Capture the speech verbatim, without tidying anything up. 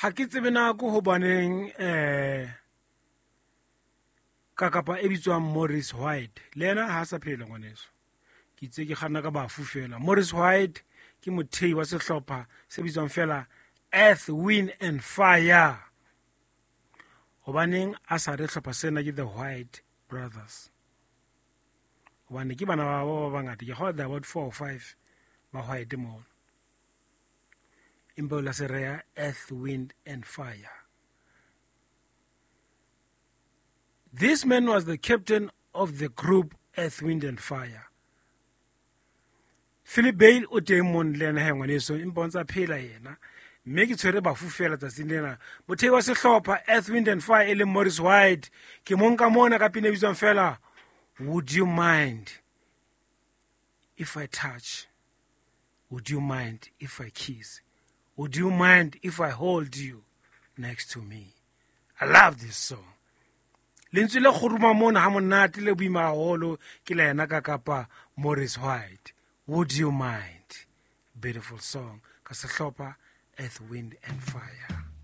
Ha ke tsebe nako hobaneng eh ka kapa e bitswang Morris White le yena ha sa phela ngwaneso. Ke itse ke kganna ka bafu fela. Morris White ke mothei wa sehlopha se bitswang fela Earth, Wind and Fire. Hobaneng a sa re hlopha sena ke the White Brothers? Hobane ke bana ba ba bangata, ke kgolwa there about four or five ba white mono. Empa o la se reha Earth, Wind and Fire. This man was the captain of the group Earth, Wind and Fire. Philip Bale o teng mono le yena he ngwaneso, empa o ntsa phela yena. Mme ke tshwere bafu fela tsatsing lena. Mothei wa sehlopha Earth, Wind and Fire e leng Morris White, ke mo nka mona ka pina e bitswang fela Would You Mind If I Touch? Would you mind if I kiss? Would you mind if I hold you next to me? I love this song. Lentswe le kgoruma mona ha monate le boima haholo ke la yena ka kapa Morris White. Would you mind? Beautiful song. Ka sehlopha Earth, Wind and Fire.